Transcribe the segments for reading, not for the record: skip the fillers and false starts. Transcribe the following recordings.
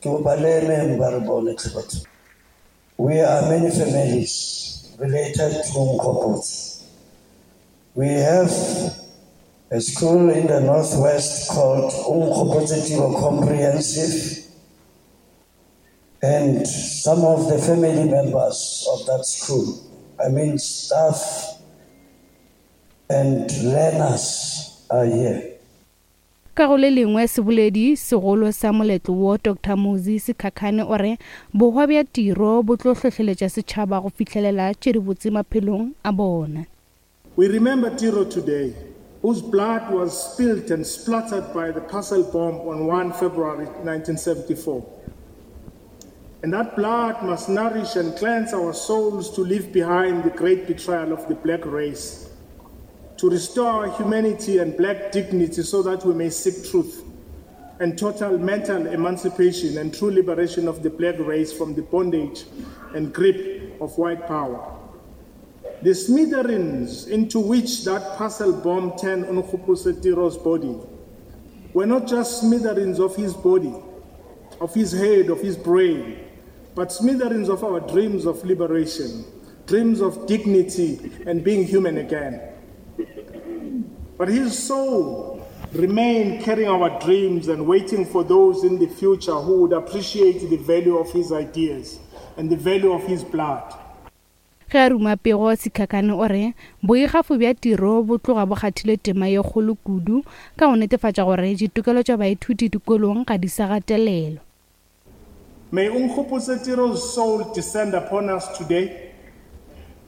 Ke kopa le emeng ba re bone tlhe batho. We are many families related to Onkgopotse. We have a school in the northwest called Onkgopotse Tiro Comprehensive and some of the family members of that school, I mean staff and learners are here. Ka go le lengwe, seboledi segolo sa moletlo wo, Doctor Muzi Sikhakhane o re bohwa bja tiro bo tlo hlohleletša setšhaba go fihlelela tše dibotse maphelong a bona. We remember Tiro today, whose blood was spilt and splattered by the parcel bomb on 1 February 1974. And that blood must nourish and cleanse our souls to leave behind the great betrayal of the black race, to restore our humanity and black dignity so that we may seek truth and total mental emancipation and true liberation of the black race from the bondage and grip of white power. The smithereens into which that parcel bomb turned Onkgopotse Tiro's body were not just smithereens of his body, of his head, of his brain, but smithereens of our dreams of liberation, dreams of dignity and being human again. But his soul remained carrying our dreams and waiting for those in the future who would appreciate the value of his ideas and the value of his blood. Ge a ruma pego, Sikhakhane o re boikgafo bja tiro bo tloga bo kgathile tema ye kgolo kudu ka go netefatša gore ditokelo tša baithuti dikolong ga di sa gatelelwa. May Onkgopotse Tiro's soul descend upon us today,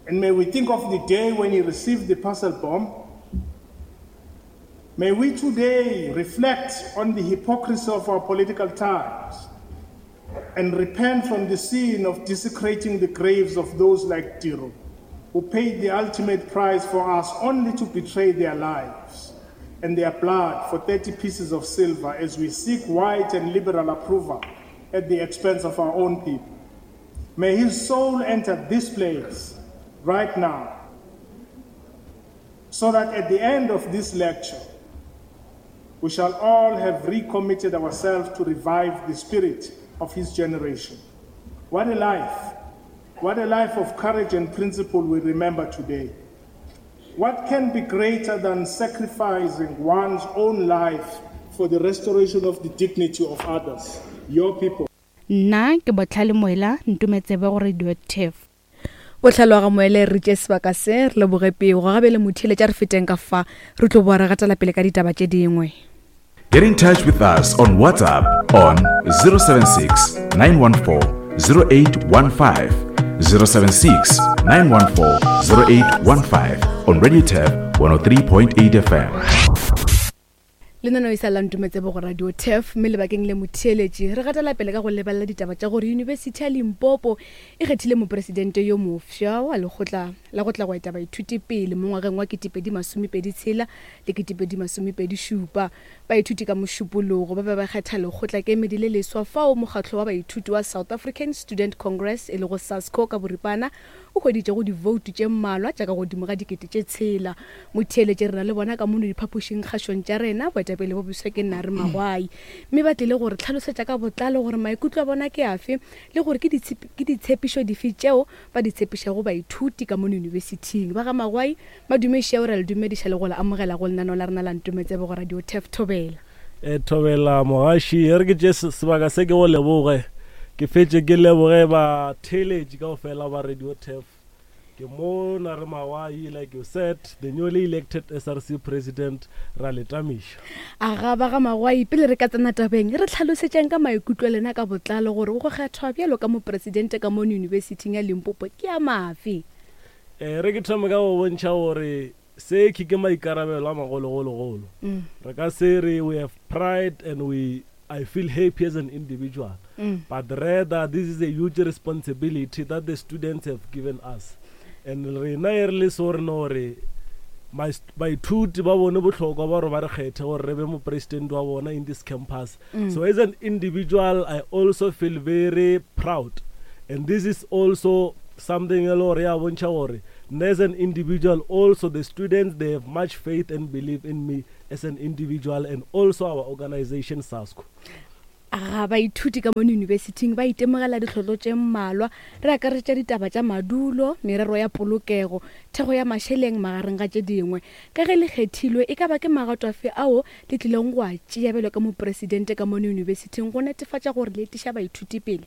and may we think of the day when he received the parcel bomb. May we today reflect on the hypocrisy of our political times and repent from the sin of desecrating the graves of those like Tiro, who paid the ultimate price for us only to betray their lives and their blood for 30 pieces of silver as we seek white and liberal approval at the expense of our own people. May his soul enter this place right now, so that at the end of this lecture, we shall all have recommitted ourselves to revive the spirit of his generation. What a life! What a life of courage and principle we remember today. What can be greater than sacrificing one's own life for the restoration of the dignity of others, your people? Nna ke Bohlale Moela, ntometsebe go Radio Turf. Bohlale wa ga Moele re tše sebaka se re leboge pego ga bjale motheeletša re feteng ka fa re tlo boa re gatela pele ka ditaba tše dingwe. Get in touch with us on WhatsApp on 076 914 0815 076 914 0815 on Radio Tab 103.8 FM. Lenaneo e sa la Ntumetsebo go Radio Turf mme lebakeng le motheeletši re gatela pele ka go lebelela ditaba tša gore Yunibesithi ya Limpopo e kgethile mopresidente yo mofsa wa lekgotla la go tla go eta baithuti pele mo ngwageng wa 2026 le 2027. Baithuti ka Mošupologo ba be ba kgetha lekgotlakemedi le leswa fao mokgatlo wa baithuti wa South African Student Congress e lego SASCO ka boripana o hweditšego divoutu tše mmalwa tša ka godimo ga dikete tše tshela. Motheeletši re na le bona ka mono diphapošing kgašong tša rena, boetapele bo boswa ke Nare Magwai. Mme ba tlile go re hlalosetša ka botlalo gore maikutlo a bona ke afe le gore ke ke ditshepišo dife tšeo ba di tshepišago baithuti ka mono yunibesithing. Ba ga Magwai, madume šeo, re a le dumediša le go le amogela go lenaneo la rena la Ntometsebe go Radio Turf Thobela. E, Thobela mogaši, e re ke tše sebaka se ke go leboge. Ke fetše ke leboge batheeletši kaofela ba Radio Turf. Ke mo na re Mawai, like you said, the newly elected SRC president, ra le tamiša. Aga ba ga Magwai, pele re ka tsena tabeng, re hlalosetšeng ka maikutlo a lena ka botlalo gore go kgethwa bjalo ka mopresidente ka mono Yunibesithing ya Limpopo ke a mafe. E re ke thome ka go bontšha gore se ke ke maikarabelo a magologologolo. Re ka se re we have pride and we I feel happy as an individual, but rather this is a huge responsibility that the students have given us. And rena e re le so re no re baithuti ba bone bohlokwa ba gore ba re kgethe gore re be mopresidente wa bona in this campus. So as an individual, I also feel very proud. And this is also something e le gore ya bontšha gore nna as an individual also the students they have much faith and belief in me as an individual and also our organization SASCO. Ga baithuti ka mono yunibesithing ba itemogela ditlhotlo tše mmalwa, re akaretša ditaba tša madulo, merero ya polokego, thekgo ya mašeleng magareng ga tše dingwe. Ka ge le kgethilwe, e ka ba ke magato afe ao le tlilego go a tšea bjalo ka mopresidente ka mono yunibesithing go netefatša gore le etiša baithuti pele?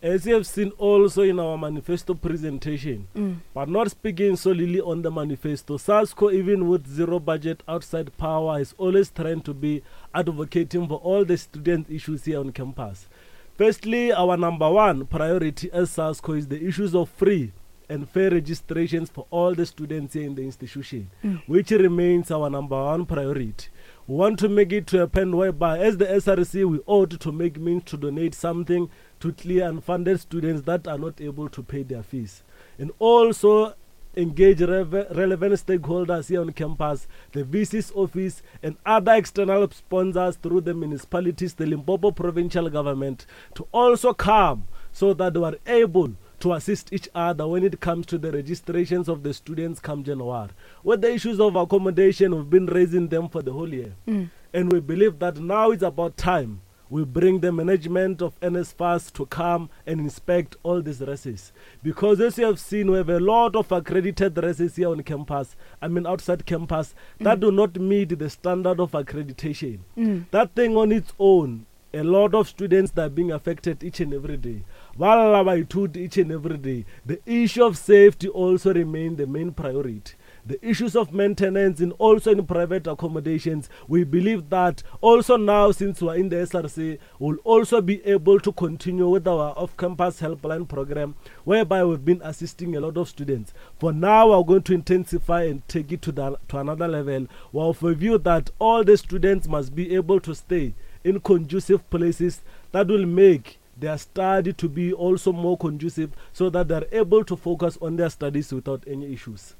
As you have seen also in our manifesto presentation, mm. but not speaking solely on the manifesto, SASCO, even with zero budget outside power, is always trying to be advocating for all the student issues here on campus. Firstly, our number one priority as SASCO is the issues of free and fair registrations for all the students here in the institution, mm. which remains our number one priority. We want to make it to a point whereby, as the SRC, we ought to make means to donate something to clear unfunded students that are not able to pay their fees. And also engage relevant stakeholders here on campus, the VC's office, and other external sponsors through the municipalities, the Limpopo provincial government, to also come so that they are able to assist each other when it comes to the registrations of the students come January. With the issues of accommodation, we've been raising them for the whole year. Mm. And we believe that now it's about time we bring the management of NSFAS to come and inspect all these races. Because as you have seen, we have a lot of accredited races here on campus, I mean outside campus, mm. that do not meet the standard of accreditation. Mm. That thing on its own, a lot of students that are being affected each and every day. Each and every day. The issue of safety also remain the main priority the issues of maintenance and also in private accommodations. We believe that also now, since we're in the SRC, we'll also be able to continue with our off campus helpline program, whereby we've been assisting a lot of students. For now, we're going to intensify and take it to, the, to another level. We're of a view that all the students must be able to stay in conducive places that will make their study to be also more conducive so that they're able to focus on their studies without any issues.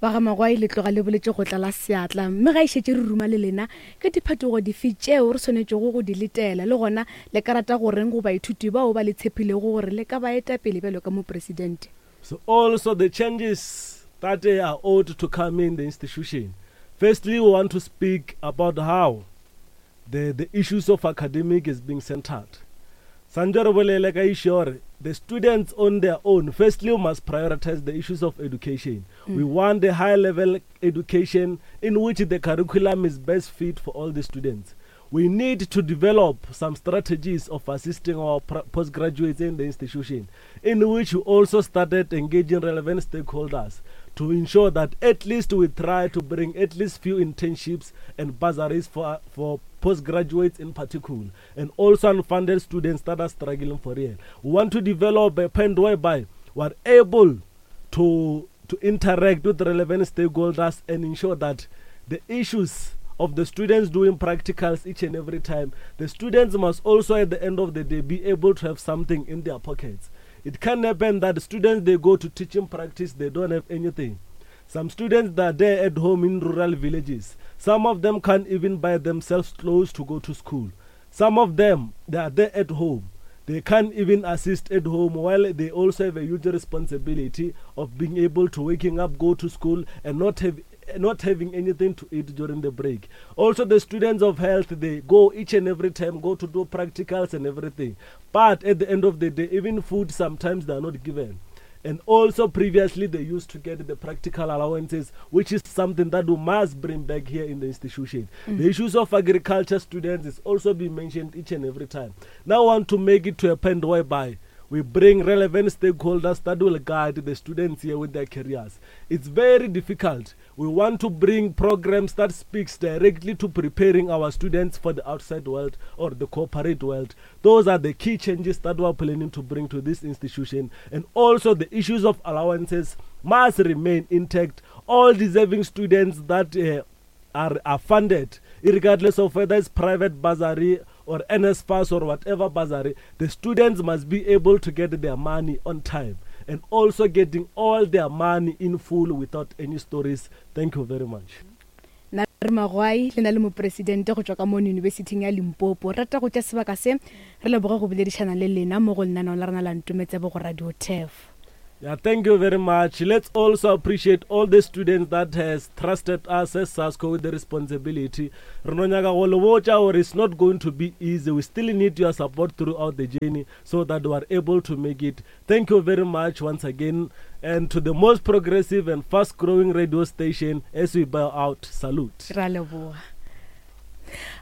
Ba ga Magwai le tloga le boletše go tlala seatla, mme ga e šetše re ruma le lena, ke diphetogo dife tšeo re swanetšego go di letela, le gona le ka rata go reng go baithuti bao ba le tshepilego gore le ka ba eta pele bjalo ka mopresidente? So also the changes that are ought to come in the institution. Firstly, we want to speak about how the, the issues of academic is being centered. Santse re bolele ka issue gore the students on their own firstly we must prioritize the issues of education. Mm. We want the high level education in which the curriculum is best fit for all the students. We need to develop some strategies of assisting our postgraduates in the institution, in which we also started engaging relevant stakeholders to ensure that at least we try to bring at least few internships and bursaries for, for postgraduates in particular, and also unfunded students that are struggling for real. We want to develop a point whereby we are able to, to interact with relevant stakeholders and ensure that the issues of the students doing practicals each and every time, the students must also at the end of the day be able to have something in their pockets. It can happen that students they go to teaching practice, they don't have anything. Some students that are there at home in rural villages, some of them can't even buy themselves clothes to go to school. Some of them, they are there at home. They can't even assist at home while they also have a huge responsibility of being able to waking up, go to school, and not have not having anything to eat during the break. Also, the students of health, they go each and every time, go to do practicals and everything. But at the end of the day, even food sometimes they are not given. And also previously they used to get the practical allowances, which is something that we must bring back here in the institution. Mm. The issues of agriculture students is also being mentioned each and every time. Now I want to make it to a point whereby we bring relevant stakeholders that will guide the students here with their careers. It's very difficult. We want to bring programs that speaks directly to preparing our students for the outside world or the corporate world. Those are the key changes that we are planning to bring to this institution. And also the issues of allowances must remain intact. All deserving students that uh, are, are funded, regardless of whether it's private bursary or NSFAS or whatever bursary, the students must be able to get their money on time and also getting all their money in full without any stories. Thank you very much. Na re Magwai le na le mopresidente go tšwa ka mono Yunibesithing ya Limpopo. Re rata go tša sebaka se re leboge go boledišana le lena mo go lenaneo la rena la Ntometsebo go Radio Turf. Yeah, thank you very much. Let's also appreciate all the students that has trusted us as SASCO with the responsibility. Re no nyaka go le botša gore it's not going to be easy. We still need your support throughout the journey so that we are able to make it. Thank you very much once again. And to the most progressive and fast growing radio station as we bow out, salute. Ra leboga.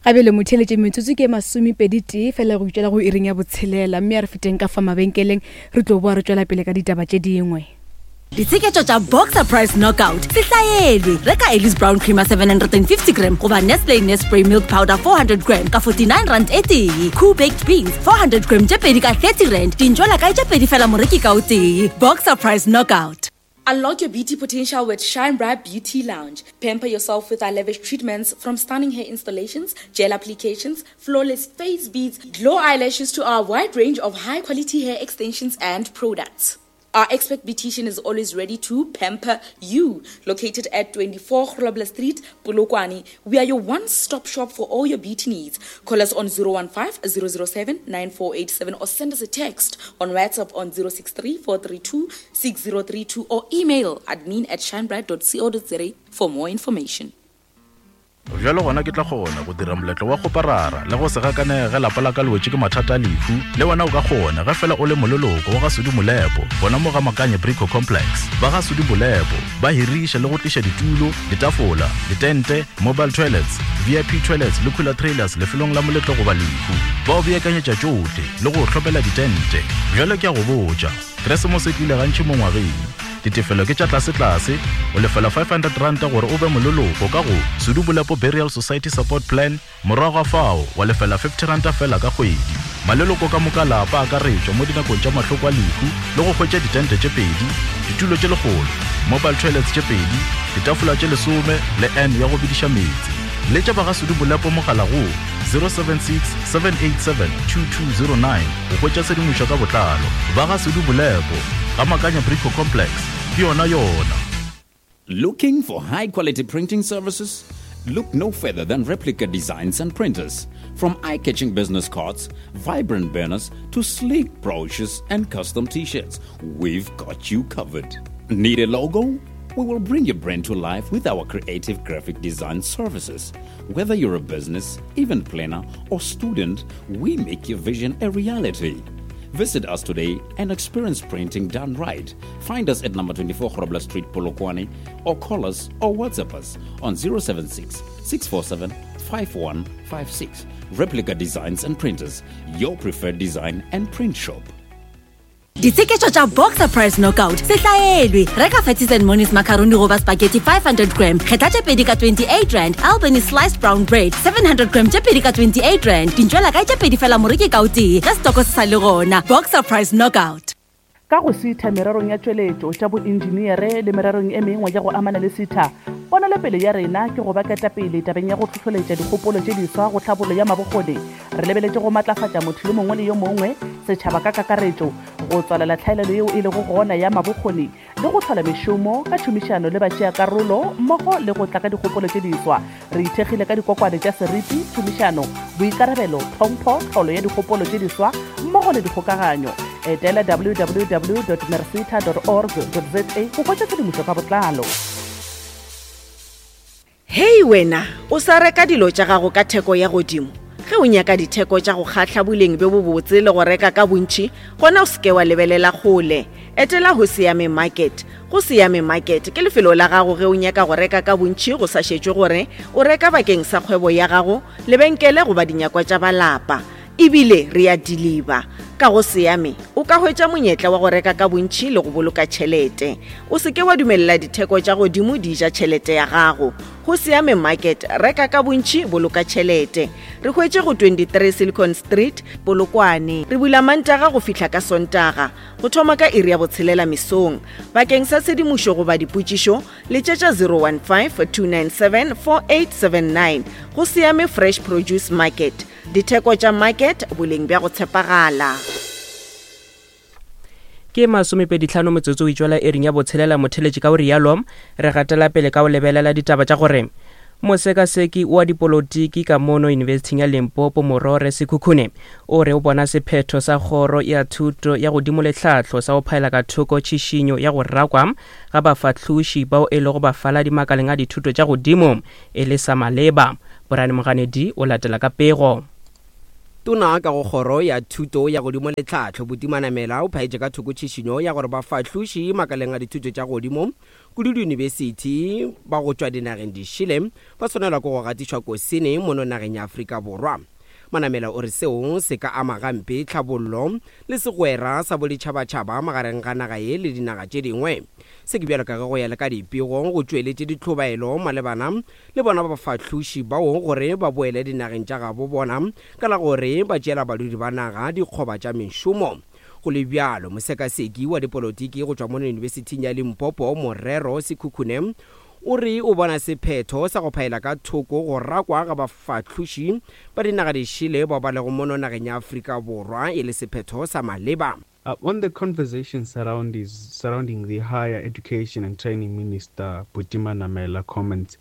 Ga bjale motheeletše metsotso ke masomepedi tee fela go itšwela go iring ya botshelela mme a re feteng ka fa mabenkeleng re tlo boa re tšwela pele ka ditaba tše dingwe. Ditsheketšo tša Boxer Price Knockout se hlaelwe. Reka Ellis Brown Creamer 750 gram goba Nestle Nespray Milk Powder 400 gram ka 49 rand e tee. Koo Baked Beans 400 gram tše pedi ka 30 rand. Dintšwela kae tše pedi fela moreki ka o tee. Boxer Price Knockout. Unlock your beauty potential with Shine Bright Beauty Lounge. Pamper yourself with our lavish treatments from stunning hair installations, gel applications, flawless face beads, glow eyelashes to our wide range of high quality hair extensions and products. Our expert beautician is always ready to pamper you. Located at 24 Grobler Street, Polokwane, we are your one-stop shop for all your beauty needs. Call us on 015 007 9487 or send us a text on WhatsApp on 063 432 6032 or email admin at shinebright.co.za for more information. Bjalo gona ke tla kgona go dira moletlo wa kgoparara le go se gakanege ge lapa la ka le wetše ke mathata a lehu. Le wena o ka kgona ge fela o le moleloko wa ga Sudi Molepo gona mo ga Makanye Brico Complex. Ba ga Sudi Molepo ba hiriša le go tliša ditulo, ditafola, ditente, mobile toilets, VIP toilets le cooler trailers lefelong la moletlo goba lehu. Ba o beakanyetša tšohle le go o hlopela ditente. Bjalo ke a go botša, Keresemose e tlile gantši mo ngwageng. Ditefelo ke tša tlasetlase, o lefela R500 gore o be moleloko ka go Sudu Bolepo Burial Society Support Plan, morago ga fao wa lefela R50 feela ka kgwedi. Maleloko ka moka lapa a akaretšwa mo dinakong tša mahloko a lehu le go hwetša ditente tše pedi, ditulo tše lekgolo, mobile toilets tše pedi, ditafola tše lesome le urn ya go bediša meetse. Letša ba ga Sudu Bolepo mogala go 076 787 2209 go hwetša tshedimošo ka botlalo. Ba ga Sudu Bolepo, ga Makanya Brico Complex, ke yona yona. Looking for high quality printing services? Look no further than Replica Designs and Printers. From eye catching business cards, vibrant banners, to sleek brochures and custom t shirts, we've got you covered. Need a logo? We will bring your brand to life with our creative graphic design services. Whether you're a business, event planner, or student, we make your vision a reality. Visit us today and experience printing done right. Find us at number 24 Grobler Street, Polokwane, or call us or WhatsApp us on 076 647 5156. Replica Designs and Printers, your preferred design and print shop. Ditsheketšo tša Boxer Price Knockout se hlaelwe. Reka Fatties and Monies macaroni goba spaghetti 500 gram, kgetha tše pedi ka 28 rand, Albany sliced brown bread 700 gram tše pedi ka 28 rand, dintšwela kae tše pedi fela moreki ka o tee ge setoko se sa le gona. Boxer Price Knockout. Ka go sitha mererong ya tšweletšo, tša boinjiniere le mererong e mengwe ya go amana le sitha, ponelopele ya rena ke go ba ketapele tabeng ya go hlohloletša dikgopolo tše diswa go tlhabollo ya mabokgoni Re lebeletše go matlafatša motho yo mongwe le yo mongwe, setšhaba ka kakaretšo, go tswalela tlhaelelo yeo e lego gona ya mabokgoni le go hlola mešomo ka tšhomišano le batšeakarolo mmogo le go tla ka dikgopolo tše diswa. Re ithekgile ka dikokwane tša seriti, tšhomišano, boikarabelo, tlhompho, tlholo ya dikgopolo tše diswa mmogo le dikgokaganyo. Etela www dot merseta dot org dot za go hwetša tshedimošo ka botlalo. Hei wena, o sa reka dilo tša gago ka theko ya godimo? Ge o nyaka ditheko tša go kgahla boleng bjo bobotse le go reka ka bontši, gona o se ke wa lebelela kgole. Etela Hoseyame Market. Hoseyame Market ke lefelo la gago ge o nyaka go reka ka bontši go sa šetšwe gore o reka bakeng sa kgwebo ya gago, lebenkele goba dinyakwa tša ba lapa. E bile re a diliba. Ka go Seame, o ka hwetša monyetla wa go reka ka bontši le go boloka tšhelete. O se ke wa dumelela ditheko tša godimo di ja tšhelete ya gago. Go Seame Market, reka ka bontši, boloka tšhelete. Re hwetše go 23 Silicon Street, Polokwane. Re bula Mantaga go fihla ka Sontaga, go thoma ka iri ya botshelela mesong. Bakeng sa tshedimošo goba dipotšišo, letšetša 015 297 4879. Go Seame Fresh Produce Market. Ditheko tša market, boleng bja go tshepagala. Ke masomepeditlhano metsotso o itšwela ering ya botshelela motheletši ka o rialo re gatela pele ka o lebelela ditaba tša gore. Mosekaseki wa dipolotiki ka mono Yunibesithing ya Limpopo Morore Sekhukhune o re o bona sephetho sa kgoro ya thuto ya godimo le tlhahlo sa go phaela ka thoko tšhišinyo ya go rakwa ga bafahloši bao e lego bafaladi makaleng a dithuto tša godimo e le sa maleba. Brian Moganedi o latela ka pego. Tona ka go Kgoro ya Thuto ya Godimo le Tlhahlo, Buti Manamela, o phaetše ka thoko tšhišinyo ya gore bafahloši makaleng a dithuto tša godimo, kudu diyunibesithi, ba go tšwa dinageng dišele ba swanelwa ke go gatišwa kosene mono nageng ya Afrika Borwa. Manamela o re seo se ka ama gampe tlhabollo le segwera sa boditšhabatšhaba magareng ga naga ye le dinaga tše dingwe. Se ke bjalo ka ge go ya le ka dipego go tšweletše ditlhobaelo malebana le bona bafahloši bao gore ba boele dinageng tša gabo bona ka la gore ba tšeela badudi ba naga dikgoba tša mešomo. Go le bjalo, mosekaseki wa dipolotiki go tšwa mono Yunibesithing ya Limpopo, Morero Sekhukhune, o re o bona sephetho sa go phaela ka thoko go rakwa ga bafahloši ba dinaga dišele bao ba lego mono nageng ya Afrika Borwa e le sephetho sa maleba. Uh, on the conversation surrounding, surrounding the higher education and training minister Buti Manamela comments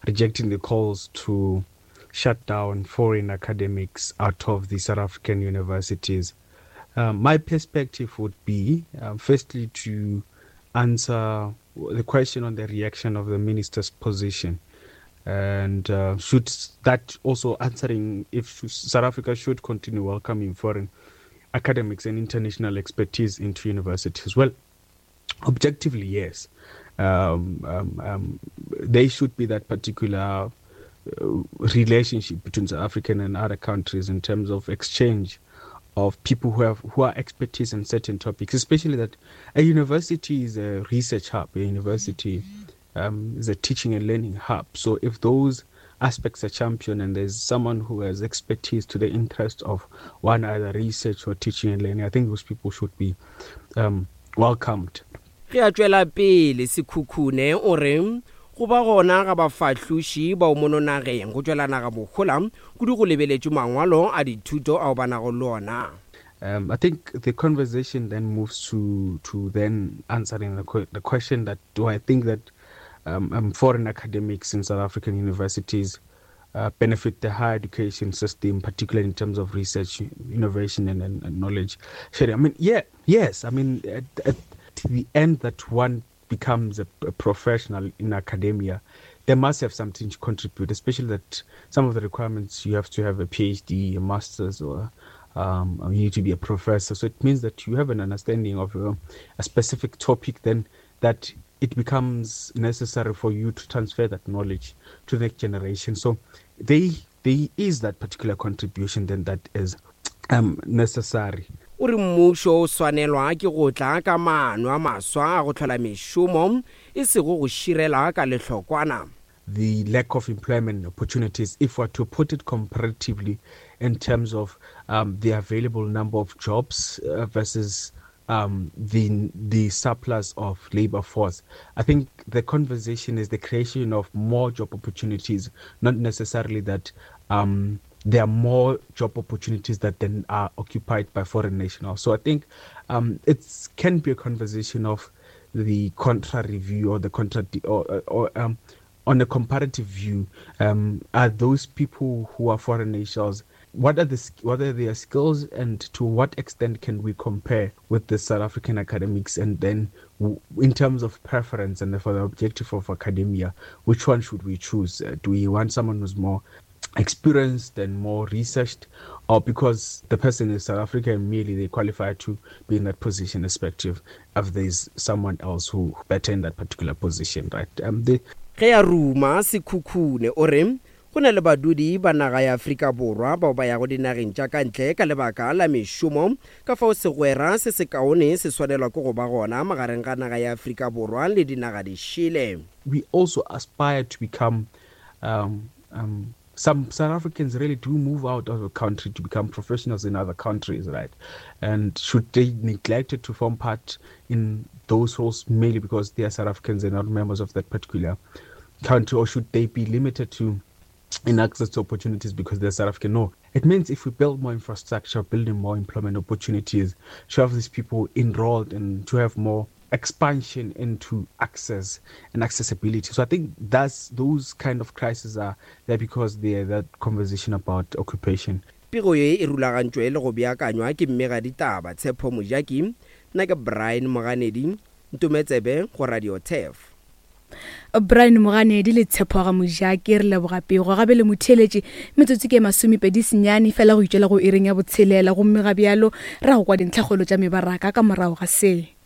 rejecting the calls to shut down foreign academics out of the South African universities. Um, my perspective would be, um, firstly, to answer the question on the reaction of the minister's position. And uh, should that also answering if South Africa should continue welcoming foreign academics and international expertise into universities? Well, objectively, yes. Um, um, um, they should be that particular uh, relationship between South African and other countries in terms of exchange of people who have who are expertise in certain topics, especially that a university is a research hub, a university um, is a teaching and learning hub. So if those aspects are championed and there's someone who has expertise to the interest of one either research or teaching and learning, I think those people should be um, welcomed. Ge a tšwela pele Sekhukhune o re go ba gona ga bafahloši bao mono nageng go tšwela naga mohola kudu go lebeletšwe mangwalo a dithuto ao ba nago le ona. Um, I think the conversation then moves to to then answering the, the question that do I think that um, um, foreign academics in South African universities uh, benefit the higher education system, particularly in terms of research, innovation, and, and, and knowledge sharing? I mean, yeah, yes. I mean, at, at the end that one becomes a, a professional in academia, they must have something to contribute, especially that some of the requirements you have to have a PhD, a master's, or um, you need to be a professor. So it means that you have an understanding of uh, a specific topic, then that it becomes necessary for you to transfer that knowledge to the next generation. So they, there is that particular contribution then that is um, necessary. O re mmušo o swanelwa ke go tla ka maano a maswa a go hlola mešomo, e sego go širela ka lehlokwana. The lack of employment opportunities, if we're to put it comparatively in terms of um, the available number of jobs uh, versus um, the the surplus of labor force. I think the conversation is the creation of more job opportunities, not necessarily that um, there are more job opportunities that then are occupied by foreign nationals. So I think um, it can be a conversation of the contra review or the contra or, or um, on a comparative view, um, are those people who are foreign nationals what are the what are their skills and to what extent can we compare with the South African academics and then in terms of preference and for the objective of academia which one should we choose uh, do we want someone who's more experienced and more researched or because the person is South African merely they qualify to be in that position respective if there's someone else who better in that particular position right um the Ge a ruma Sekhukhune o re go na le badudi ba naga ya Afrika Borwa bao ba yago dinageng tša ka ntle ka lebaka la mešomo, ka fao segwera se sekaone se swanelwa ke go ba gona magareng ga naga ya Afrika Borwa le dinaga dišele. We also aspire to become um, um, some South Africans really do move out of the country to become professionals in other countries, right? And should they neglect it to form part in those roles merely because they are South Africans and not members of that particular country, or should they be limited to in access to opportunities because they're South African? No. It means if we build more infrastructure, building more employment opportunities, to have these people enrolled and to have more expansion into access and accessibility. So I think that's those kind of crises are there because they are that conversation about occupation. Pego ye e rulagantšwe le go beakanywa ke mmegaditaba Tshepo Mojaki, nna ke Brian Moganedi, Ntometsebe go Radio Turf. Brian Moganedi le Tshepo ga Mojaki re leboga pego gabe le motheeletši metsotso ke masomepedi senyane fela go itšwela go iring ya botshelela gomme ga bjalo ra go kwa dintlhakgolo tša mebaraka ka morago ga se.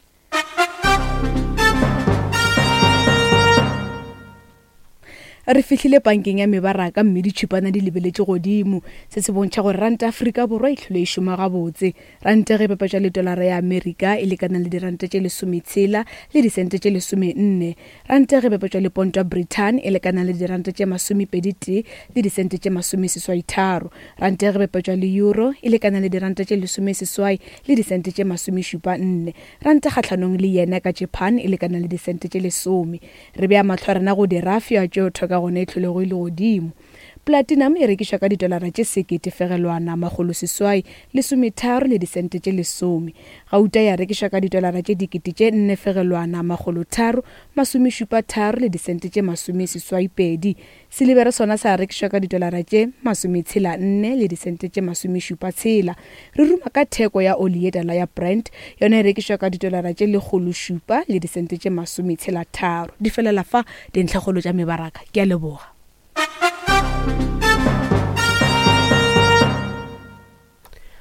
Re fihlile pankeng ya mebaraka mme ditšhupana di lebeletše godimo. Se se bontšha gore ranta Afrika Borwa e hlile e šoma gabotse. Ranta ge e bapetšwa le tolara ya Amerika e lekana le diranta tše lesometshela le disente tše lesomenne. Ranta ge e bapetšwa le ponto ya Britain e lekana le diranta tše masomepeditee le disente tše masomeseswaitharo. Ranta ge e bapetšwa le euro e lekana le diranta tše lesomeseswai le disente tše masomešupa nne. Ranta kgahlanong le yena ka Japan e lekana le disente tše lesome. Re bea mahlo a rena go dirafia tšeo thoka gona e hlolego e le godimo. Platinum e rekišwa ka ditolara tše sekete fegelwana makgoloseswai lesometharo le disente tše lesome. Gauta ya rekišwa ka ditolara tše dikete tše nne fegelwana makgolotharo masomešupa tharo le disente tše masomeseswaipedi. Silibere sona sa rekišwa ka ditolara tše masometshela nne le disente tše masomešupa tshela. Re ruma ka theko ya oli ye tala ya Brent, yona e rekišwa ka ditolara tše lekgološupa le disente tše masometshela tharo. Di felela fa dintlhakgolo tša mebaraka. Ke a leboga.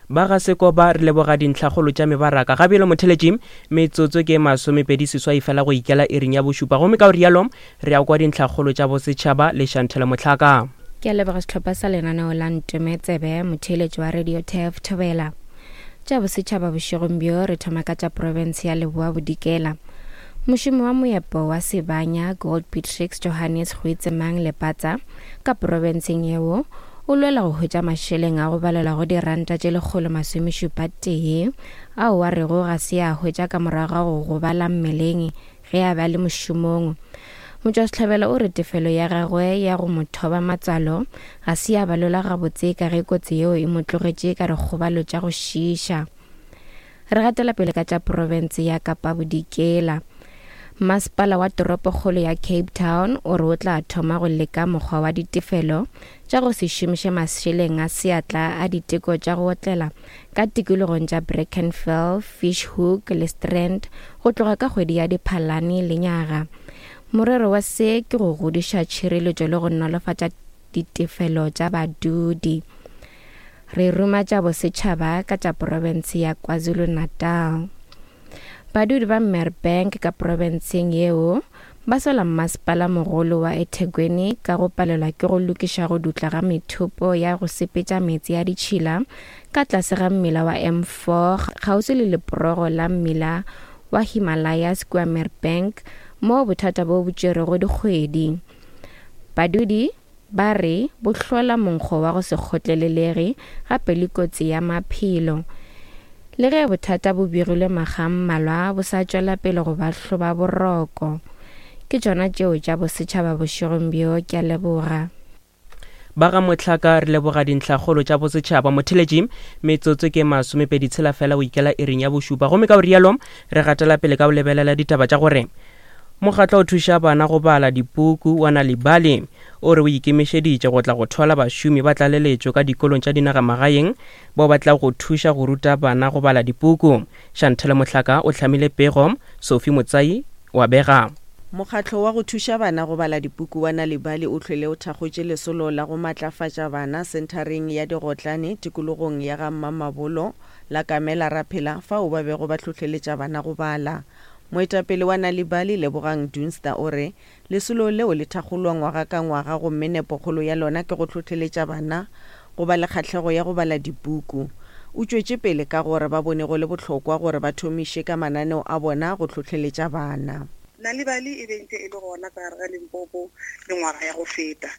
Ba ga Sekoba re leboga dintlhakgolo tša mebaraka. Ga bjalo motheletši, metsotso ke masomepedi seswai fela go ikela iring ya bošupa. Gomme ka go rialo re ya kwa dintlhakgolo tša bosetšhaba le Shantele Mohlaka. Ke a leboga sehlopha sa lenaneo la Ntome Tsebe, motheeletši wa Radio Turf Thobela. Tša bosetšhaba bošegong bjo re thoma ka tša profense ya Leboa Bodikela. Mošomi wa moepo wa Sibanya Gold Beatrix Johannes Goitsemang Lepatsa ka profenseng yeo O lwela go hwetša mašeleng a go balelwa go diranta tše 171 ao a rego ga se a hwetša ka morago ga go gobala mmeleng ge a be a le mošomong. Motšwasehlabelo o re tefelo ya gagwe ya go mo thoba matswalo ga se ya balelwa gabotse ka ge kotsi yeo e mo tlogetše ka dikgobalo tša go šiiša. Re gatela pele ka tša profense ya Kapa Bodikela. Masepala wa toropokgolo ya Cape Town o re o tla thoma go leka mokgwa wa ditefelo tša go se šomiše mašeleng a seatla a diteko tša go otlela ka tikologong tša Brackenfell, Fish Hoek le Strand go tloga ka kgwedi ya Diphalane lenyaga. Morero wa se ke go godiša tšhireletšo le go nolofatša ditefelo tša badudi. Re ruma tša bosetšhaba ka tša profense ya KwaZulu-Natal. Badudi ba Merebank ka profenseng yeo ba sola mmasepala mogolo wa eThekwini ka go palelwa ke go lokiša go dutla ga methopo ya go sepetša meetse a ditšhila ka tlase ga mmila wa M4 kgauswi le leporogo la mmila wa Himalayas kua Merebank moo bothata bo bo tšerego dikgwedi. Badudi Ba re bo hlola monkgo wa go se kgotlelelege gape le kotsi ya maphelo. Le ge bothata bo begilwe makga a mmalwa, bo sa tšwela pele go ba hloba boroko. Ke tšona tšeo tša bosetšhaba bošegong bjo, ke a leboga. Ba ga Mohlaka re leboga dintlhakgolo tša bosetšhaba. Motheletši, metsotso ke masomepedi tshela fela go ikela iring ya bošupa. Gomme ka go rialo re gatela pele ka go lebelela ditaba tša gore Mokgatlo o thuša bana go bala dipuku wa Nal'ibali o re o ikemišeditše go tla go thwala bašomi ba tlaleletšo ka dikolong tša dinagamagaeng bao ba tlago go thuša go ruta bana go bala dipuku. Chantel Mohlaka o hlamile pego, Sophie Motsai o a bega. Mokgatlo wa go thuša bana go bala dipuku wa Nal'ibali o hlwele o thakgotše lesolo la go matlafatša bana senthareng ya Digotlane tikologong ya ga Mmamabolo la Kamela Raphela fao ba bego ba hlohleletša bana go bala. Moetapele wa Nal'ibali, Lebogang Dunster o re, Lesolo leo le thakgolwa ngwaga ka ngwaga gomme nepokgolo ya lona ke go hlohleletša bana go ba le kgahlego ya go bala dipuku. O tšwetše pele ka gore ba bone go le bohlokwa gore ba thomiše ka mananeo a bona go hlohleletša bana. Nal'ibali e be ntše e le gona ka gare ga Limpopo mengwaga ya go feta.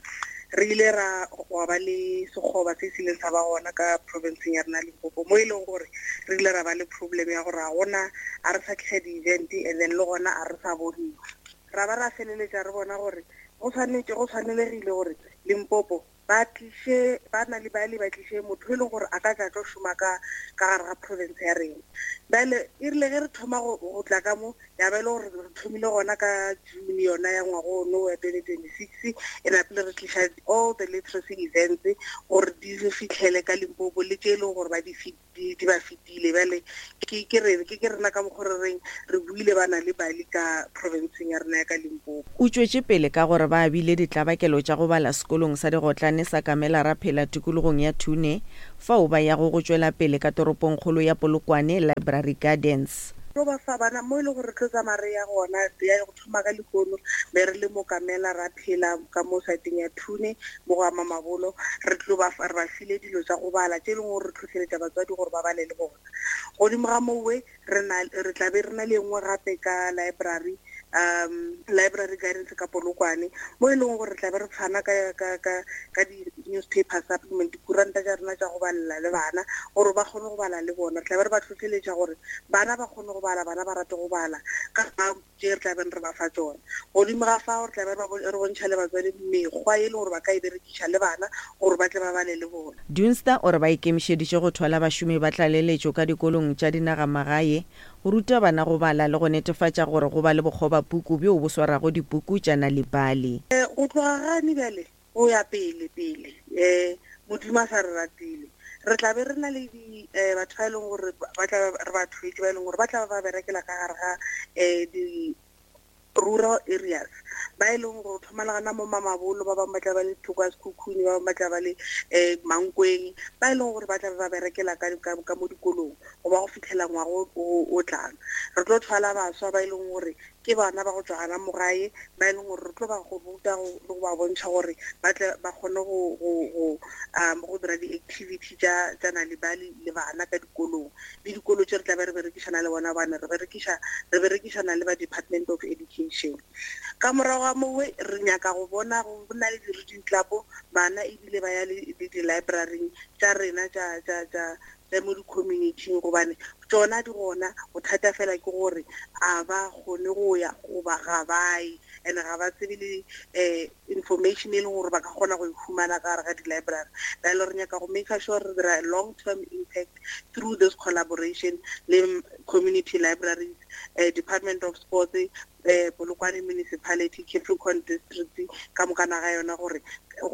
Re ile ra gwa ba le sekgoba se se ileng sa ba gona ka provinceng ya rena Limpopo mo e leng gore re ile ra ba le problem ya gore ga gona a re sa tliša di-event and then le gona a re sa boniwa. Ra ba ra feleletša re bona gore go swanetše go swanelegile gore Limpopo ba tliše ba na le bale ba tliše motho e leng gore a ka tla tlo šoma ka ka gare ga province ya rena. Bjale e rile ge re thoma go go tla ka mo ya ba e le gore re thomile gona ka June yona ya ngwaga ono wa 2026 e napile re tliša all the literacy events gore di re fitlhele ka Limpopo le tše e leng gore ba di di di ba fetile. Bjale ke ke re ke ke rena ka mokgo re reng re buile ba na le bali ka provinceng ya rena ya ka Limpopo. O tšwetše pele ka gore ba abile ditlabakelo tša go bala sekolong sa digotlane sa Kamela Raphela tikologong ya Thune, fao ba yago go tšwela pele ka toropongkgolo ya Polokwane, Library Gardens. Tlo ba fa bana mo e le gore re tlo tsamaya re ya gona, ya go thoma ka lehono be re le mo Kamela Raphela ka mo saeteng ya Thune mo go ama mabolo, re tlo ba fa, re ba file dilo tša go bala tše e leng gore re tlhohleletša batswadi gore ba bale le bona. Godimo ga mowe re na, re tla be re na le e nngwe gape ka library, um library gardens ka Polokwane, mo e leng gore re tla be re fana ka, ka, ka, ka di-newspaper supplement, dikuranta tša rena tša go balela le bana gore ba kgone go bala le bona. Re tla be re ba tlhohleletša gore bana ba kgone go bala, bana ba rate go bala ka tše re tla beng re ba fa tšona. Godimo ga fao re tla be re bontšha le batswadi mekgwa e le gore ba ka e berekiša le bana gore ba tle ba bale le bona. Dunster o re ba ikemišeditše go thwala bašomi ba tlaleletšo ka dikolong tša dinagamagae go ruta bana go bala le go netefatša gore go ba le bokgobapuku bjo bo swarago dipuku tša Nal'ibali. Go tloga gane bjale go ya pele pele um Modimo a sa re ratile re tla be re na le di um batho ba e leng gore ba tla re ba thwetše ba e leng gore ba tla ba berekela ka gare ga um di rural areas ba e leng gore thoma le gana mo Mamabolo, ba bangwe ba tla ba le thoko ya Sekhukhune, ba bangwe ba tla ba le um Mankweng, ba e leng gore ba tla ba berekela ka mo dikolong go ba go fitlhela ngwaga o tlang. Re tlo thwala baswa ba e leng gore ke bana ba go tšwa gana mo gae, ba e leng gore re tlo ba go ruta le go ba bontšha gore ba tle ba kgone go, go, go, um, go dira di-activity tša, tša Nal'ibali le bana ka dikolong. Le dikolo tše re tla be re berekišana le bona, gobane re berekiša, re berekišana le ba Department of Education. Ka morago ga mowe re nyaka go bona go na le di-reading club, bana ebile ba ya le, le di-library-ing tša rena tša, tša, tša, tša mo di-community-ing, gobane tšona di gona. Bothata fela ke gore a ba kgone go ya goba ga ba ye, and ga ba tsebe le um information e leng gore ba ka kgona go e humana ka gare ga di-library. Bjale re nyaka go make sure re dira long term impact through this collaboration le community libraries, Department of Sports, Polokwane Municipality, Capricorn District ka moka naga yona, gore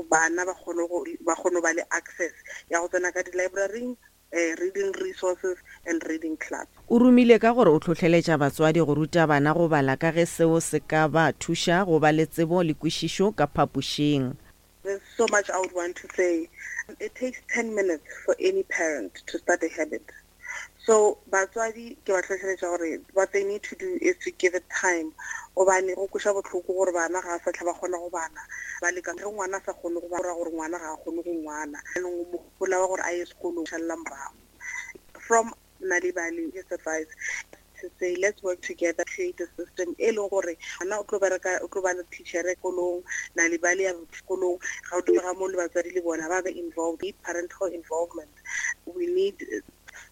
bana ba kgone go, ba kgone go ba le access ya go tsena ka di-libraryng, reading resources and reading clubs. O rumile ka gore o hlohleletša batswadi go ruta bana go bala ka ge seo se ka ba thuša go ba le tsebo le kwešišo ka phapošing. There's so much I would want to say. It takes 10 minutes for any parent to start a habit. So batswadi ke ba hlohleletša gore what they need to do is to give it time, gobane go kweša bohloko gore bana ga sa tlha ba kgona go bala, ba leka ge ngwana a sa kgone go bala gore ngwana ga a kgone go ngwala, jaanong o mogola wa gore a ye sekolong šalela morago. From Nal'ibali, just advice to say let's work together, create a system e leng gore ngwana o tlo bereka, o tlo ba le teachere kolong, Nal'ibali ya sekolong, ga o ga mo le batswadi le bona ba be involved. We need parental involvement. We need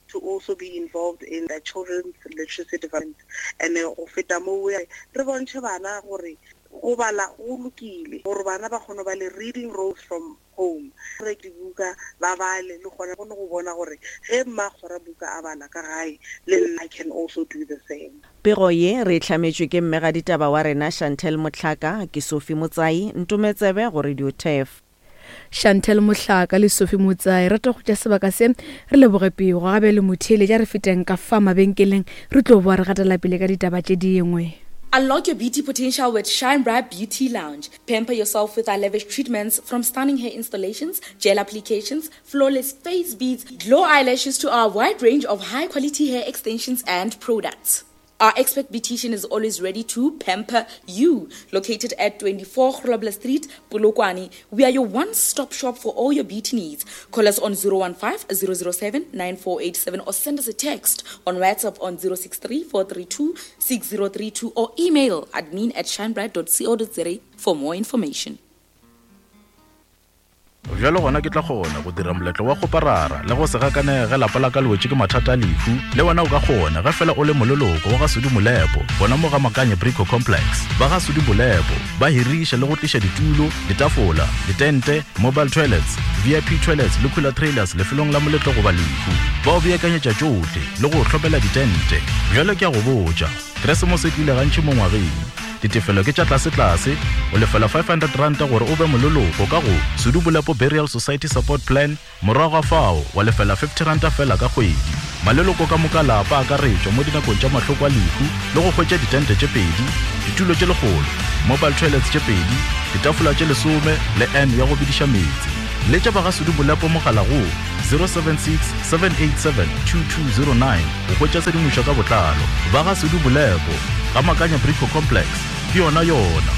to also be involved in the children's literacy development. And go feta mo re bontšhe bana gore go bala go lokile, gore bana ba kgone ba le reading roles from home, re dibuka ba bale le gona kgone go bona gore ge mma tshwara buka a bala ka gae, le nna I can also do the same. Pego ye re e hlametšwe ke mmegaditaba wa rena Chantel Mohlaka, ke Sophie Motsai, Ntometsebe go Radio Turf. Chantel Mohlaka le Sophie Motsai, rata go tša sebaka se re leboge pego gabe le motheeletša re feteng ka fa mabenkeleng re tlo boa re gatela pele ka ditaba tše dingwe. Unlock your beauty potential with Shine Bright Beauty Lounge. Pamper yourself with our lavish treatments, from stunning hair installations, gel applications, flawless face beads, glow eyelashes to our wide range of high-quality hair extensions and products. Our expert beautician is always ready to pamper you. Located at 24 Grobler Street, Polokwane, we are your one-stop shop for all your beauty needs. Call us on 015-007-9487 or send us a text on WhatsApp on 063-432-6032 or email admin at shinebright.co.za for more information. Bjalo gona ke tla kgona go dira moletlo wa kgoparara le go se gakanege ge lapa la ka le wetše ke mathata a lehu. Le wena o ka kgona ge fela o le moleloko wa ga Sudi Molepo gona mo ga Makanye Brico Complex. Ba ga Sudi Molepo ba hiriša le go tliša ditulo, ditafola, ditente, mobile toilets, VIP toilets le cooler trailers lefelong la moletlo goba lehu. Ba o beakanyetša tšohle le go o hlomela ditente. Bjalo ke a go botša, Keresemose e tlile gantši mo ngwageng. Ditefelo ke tša tlasetlase, o lefela R500 gore o be moleloko ka go Sudu Bolepo Burial Society Support Plan, morago ga fao wa lefela R50 feela ka kgwedi. Maleloko ka moka a lapa a akaretšwa mo dinakong tša mahloko a lehu le go hwetša ditente tše pedi, ditulo tše lekgolo, mobile toilets tše pedi, ditafola tše lesome le urn ya go bediša meetse. Letša ba ga Sudu Bolepo mogala go 076 787 2209 go hwetša tshedimošo ka botlalo. Ba ga Sudu Bolepo, ga Makanya Brico Complex, ke yona yona.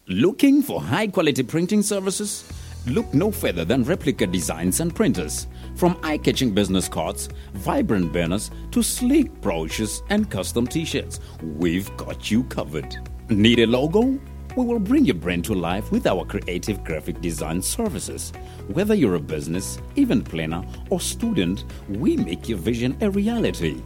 Looking for high quality printing services? Look no further than Replica Designs and Printers. From eye catching business cards, vibrant banners, to sleek brochures and custom t shirts, we've got you covered. Need a logo? We will bring your brand to life with our creative graphic design services. Whether you're a business, event planner, or student, we make your vision a reality.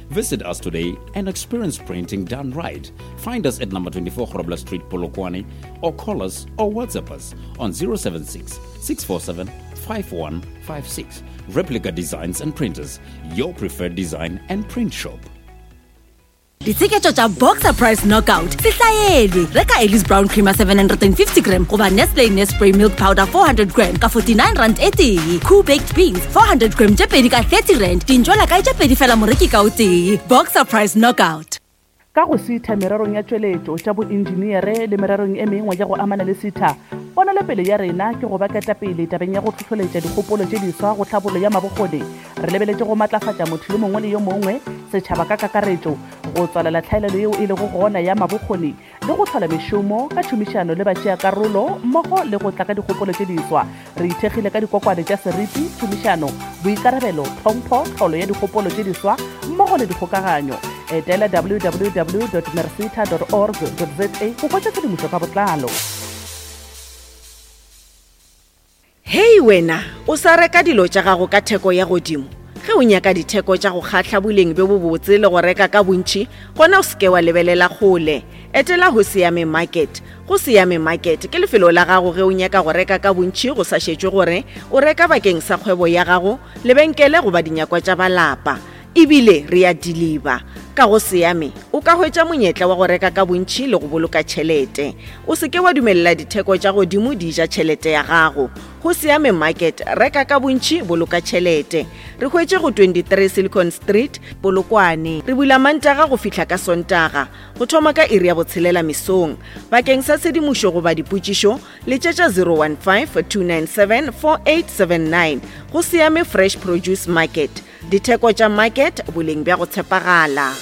Visit us today and experience printing done right. Find us at number 24 Grobler Street, Polokwane, or call us or WhatsApp us on 076 647 5156. Replica Designs and Printers, your preferred design and print shop. Ditsheketšo tša Boxer Price Knockout se hlaelwe. Reka Ellis Brown Creamer 750 gram goba Nestle Nespray Milk Powder 400 gram ka 49 rand e tee. Cool Baked Beans 400 gram tše pedi ka 30 rand. Dintšwela kae tše pedi fela moreki ka o tee. Boxer Price Knockout. Ka go sitha mererong ya tšweletšo, tša boentšeneere le mererong e mengwe ya go amana le sitha, ponelopele ya rena ke go ba ketapele tabeng ya go hlohloletša dikgopolo tše diswa go tlhabollo ya mabokgoni. Re lebeletše go matlafatša motho yo mongwe le yo mongwe, setšhaba ka kakaretšo, go tswalela tlhaelelo yeo e lego gona ya mabokgoni le go hlola mešomo ka tšhomišano le batšeakarolo mmogo le go tla ka dikgopolo tše diswa. Re ithekgile ka dikokwane tša seriti, tšhomišano, boikarabelo, tlhompho, tlholo ya dikgopolo tše diswa mmogo le dikgokaganyo. Etela www.mercita dot org dot za go hwetša tshedimošo ka botlalo. Hei wena, o sa reka dilo tša gago ka theko ya godimo? Ge o nyaka ditheko tša go kgahla boleng bjo bobotse le go reka ka bontši, gona o se ke wa lebelela kgole. Etela Hosiame Market. Go Siame Market ke lefelo la gago ge o nyaka go reka ka bontši go sa šetšwe gore o reka bakeng sa kgwebo ya gago, lebenkele goba dinyakwa tša ba lapa. E bile re a diliba. Ka go Siame, o ka hwetša monyetla wa go reka ka bontši le go boloka tšhelete. O se ke wa dumelela ditheko tša godimo di ja tšhelete ya gago. Go Siame Market, reka ka bontši, boloka tšhelete. Re hwetše go 23 Silicon Street, Polokwane. Re bula Mantaga go fihla ka Sontaga, go thoma ka iri ya botshelela mesong. Bakeng sa tshedimošo goba dipotšišo, letšetša 015 297 4879. Go Siame Fresh Produce Market. Ditheko tša market, boleng bja go tshepagala.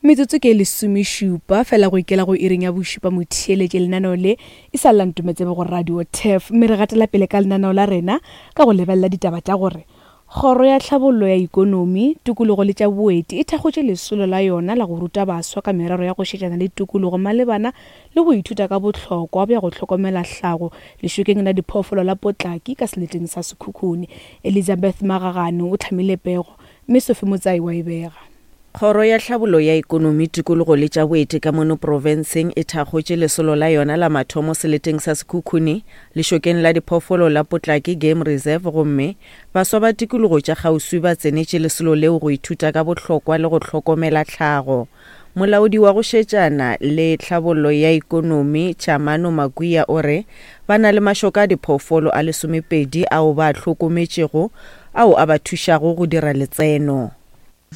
Metsotso ke lesomešupa fela go ikela go iring ya bošupa motheeletše lenaneo le e sa lla ntometsebe go radio tef mme re gatela pele ka lenaneo la rena ka go lebelela ditaba tša gore Kgoro ya Tlhabollo ya Ikonomi, Tikologo le tša Boeti e thakgotše lesolo la yona la go ruta baswa ka merero ya go šetšana le tikologo malebana le go ithuta ka bohlokwa bja go hlokomela hlago lešokeng la diphoofolo la Potlaki ka seleteng sa Sekhukhune. Elizabeth Magagane o hlamile pego, mme Sophie Motsai wa e bega. Kgoro ya Tlhabollo ya Ikonomi, Tikologo le tša Boeti ka mono profenseng e thakgotše lesolo la yona la mathomo seleteng sa Sekhukhune, lešokeng la diphoofolo la Potlaki Game Reserve gomme baswa ba tikologo tša kgauswi ba tsenetše lesolo leo go ithuta ka bohlokwa le go hlokomela tlhago. Molaodi wa go šetšana le tlhabollo ya ikonomi Tshamano Makuya o re ba na le mašoka a diphoofolo a lesomepedi ao ba a hlokometšego ao a ba thušago go dira letseno.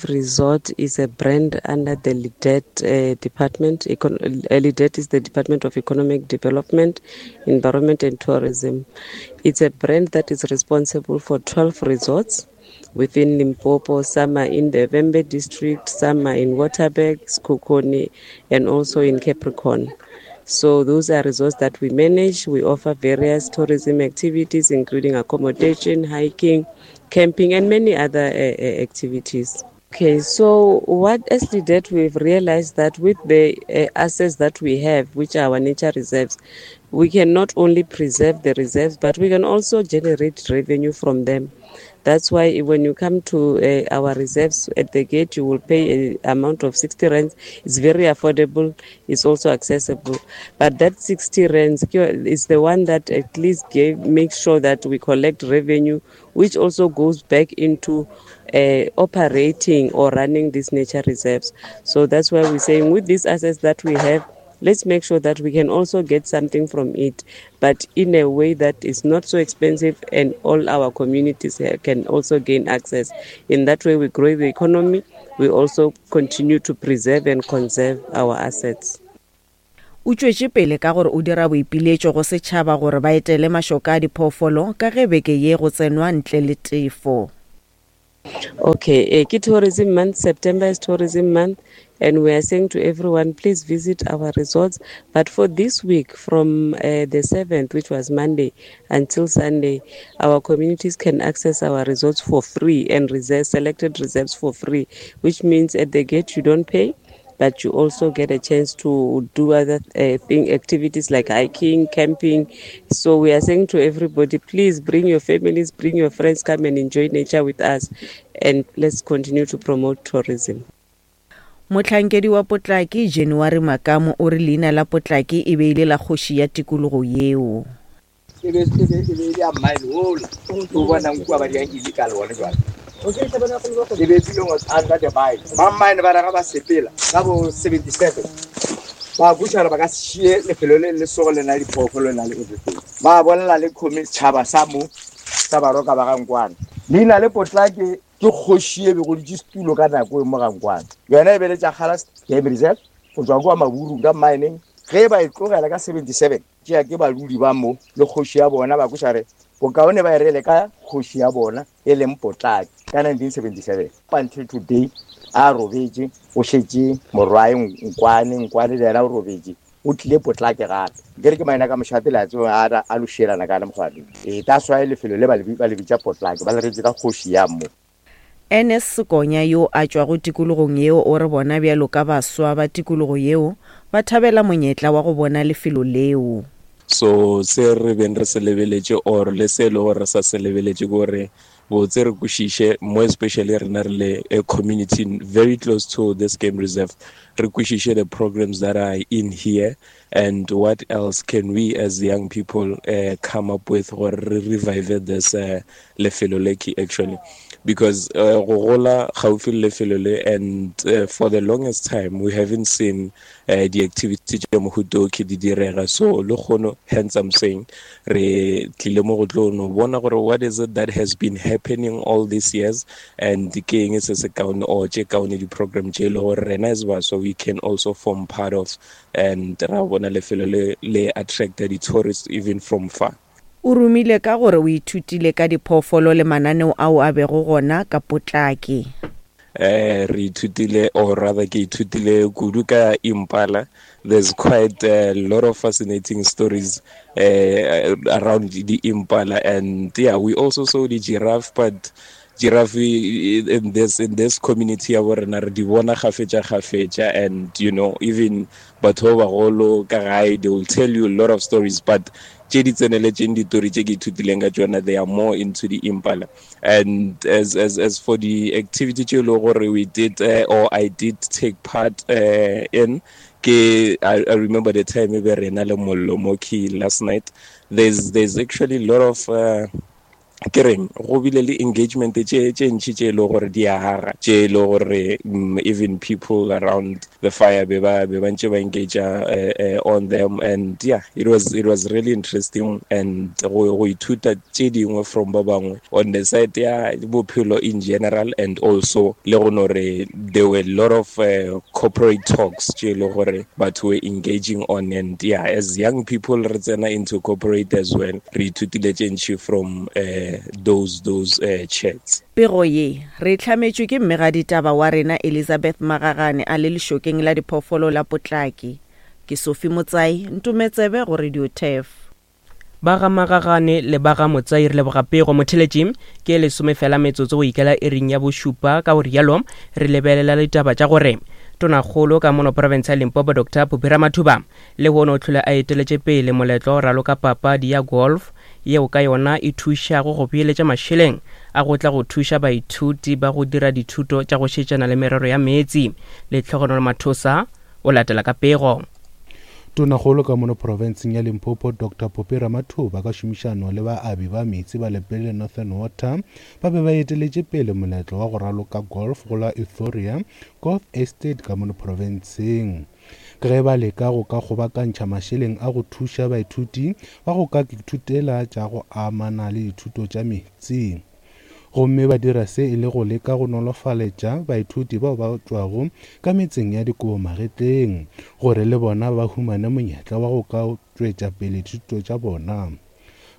Resort is a brand under the LIDET uh, department. Econ uh, LIDET is the Department of Economic Development, Environment and Tourism. It's a brand that is responsible for 12 resorts within Limpopo. Some are in the Vhembe district, some are in Waterberg, Sekhukhune, and also in Capricorn. So those are resorts that we manage. We offer various tourism activities, including accommodation, hiking, camping, and many other uh, activities. Okay, so what as that we've realized that with the uh, assets that we have, which are our nature reserves, We can not only preserve the reserves, but we can also generate revenue from them. That's why when you come to uh, our reserves at the gate, you will pay an amount of 60 rands. It's very affordable. It's also accessible. But that 60 rands is the one that at least gave, makes sure that we collect revenue, which also goes back into uh, operating or running these nature reserves. So that's why we're saying with these assets that we have, let's make sure that we can also get something from it, but in a way that is not so expensive and all our communities can also gain access. In that way, we grow the economy. We also continue to preserve and conserve our assets. O tšwetše pele ka gore o dira boipiletšo go setšhaba gore ba etele mašoka a diphoofolo ka ge beke ye go tsenwa ntle le tefo. Okay, eh, ke tourism month, September is tourism month, and we are saying to everyone, please visit our resorts. But for this week, from uh, the 7th, which was Monday, until Sunday, our communities can access our resorts for free and reserve selected reserves for free, which means at the gate you don't pay but you also get a chance to do other uh, thing activities like hiking, camping. So we are saying to everybody, please bring your families, bring your friends, come and enjoy nature with us, and let's continue to promote tourism. Mohlankedi wa Potlaki, January Makamu o re leina la Potlaki e be e le la kgoši ya tikologo yeo. E be e be e be e le ya mine ola o bonang kua ba dirang illegal one jwale e be e was under the mine ba mine ba raga ba sepela ka bo 77 ba bušara ba ka šie lefelo le le sogo le na le diphoofolo le na le everything ba bolela le khomi setšhaba sa mo sa baroka ba gankwana leina le potlake ke kgoši e bego ditše setulo ka nako e mo gankwana yona e beletša kgalas game reserve go tswa kua maburung ka mineng ge ba e tlogela ka 77 tšea ke badudi ba mo le kgoši ya bona ba kweša re bokaone ba e rele ka kgoši ya bona e leng Potlaki ka 1977. Up until today a robetše o šetše morwae Nkwane, Nkwane le yena o robetše o tlile Potlaki gape. Ke re ke maina ka mošate le a tseba a a lošielana ka mokgwa ee that's why lefelo le ba le bitša Potlaki ba le retše ka kgoši ya mo. Ernest Sekonya yo a tšwago tikologong yeo o re bona bjalo ka baswa ba tikologo yeo ba thabela monyetla wa go bona lefelo leo. So se re beng re se lebeletše or le se e le gore re sa se lebeletše ke gore botse re kwešiše more especially rena re le a community very close to this game reserve re kwešiše the programs that are in here and what else can we as young people uh, come up with gore re revive this uh, lefelo le ke actually because uh, go gola gaufi le lefelo le and uh, for the longest time we haven't seen uh, di-activity tša mohuta o ke di direga so le kgono hence i'm saying re tlile mo go tlo no bona gore what is it that has been happening all these years and ke eng se se kaone or tše kaone di-program tše e le gore rena as baswa we can also form part of and ra bona lefelo le le attracta di-tourists even from far O rumile ka gore o ithutile ka diphoofolo le mananeo ao a bego gona ka potlaki. Eh, re ithutile or rather ke ithutile kudu ka impala there's quite a lot of fascinating stories uh, around the impala and yeah we also saw the giraffe but giraffe in this in this community ya bo rena re di bona gafetša gafetša and you know even batho ba bagolo ka gae they will tell you a lot of stories but tše di tseneletšeng ditori tše ke ithutileng ka tšona they are more into the impala and as as as for the activity tše e le gore we did uh, or i did take part uh, in ke I, I remember the time e be rena le mollo mo key last night there's there's actually a lot of uh, ke reng go bile le engagement tše tše ntši tše e le gore di a aga tše e le gore mm, even people around the fire be ba be ba ntše ba engage uh, uh, on them and yeah it was it was really interesting and go go ithuta tše dingwe from ba bangwe on the side ya bophelo in general and also le go no re there were a lot of uh, corporate talks tše e le gore batho were engaging on and yeah as young people re tsena into corporate as well re ithutile tše ntši from uh, those those uh, chats Pego ye re e hlametšwe ke mmegaditaba wa rena Elizabeth Magagane a le lešokeng la diphoofolo la Potlaki. Ke Sophie Motsai, Ntometsebe go Radio Turf. Ba ga Magagane le ba ga Motsai re leboga pego. Motheletši ke lesome fela metsotso go ikela iring ya bošupa ka go rialo re lebelela ditaba tša gore. Tonakgolo ka mono profense ya Limpopo Doctor Phophi Ramathuba lehono o hlole a eteletše pele moletlo wa go raloka papadi ya golf yeo ka yona e thušago go beeletša mašeleng a go tla go thuša baithuti ba go dira dithuto tša go šetšana le merero ya meetse. Lehlogonolo Mathosa o latela ka pego. Tonakgolo ka mono profenseng ya Limpopo Doctor Phophi Ramathuba ka šomišano le baabi ba meetse ba Lepelle Northern Water ba be ba eteletše pele moletlo wa go raloka golf go la Euphoria Golf Estate ka mono profenseng. Ge ba leka go ka kgobakantšha mašeleng a go thuša baithuti ba go ka ithutela tša go amana le dithuto tša meetse. Gomme ba dira se e le go leka go nolofaletša baithuti bao ba tšwago ka metseng ya dikobo magetleng gore le bona ba humane monyetla wa go ka tšwetša pele dithuto tša bona.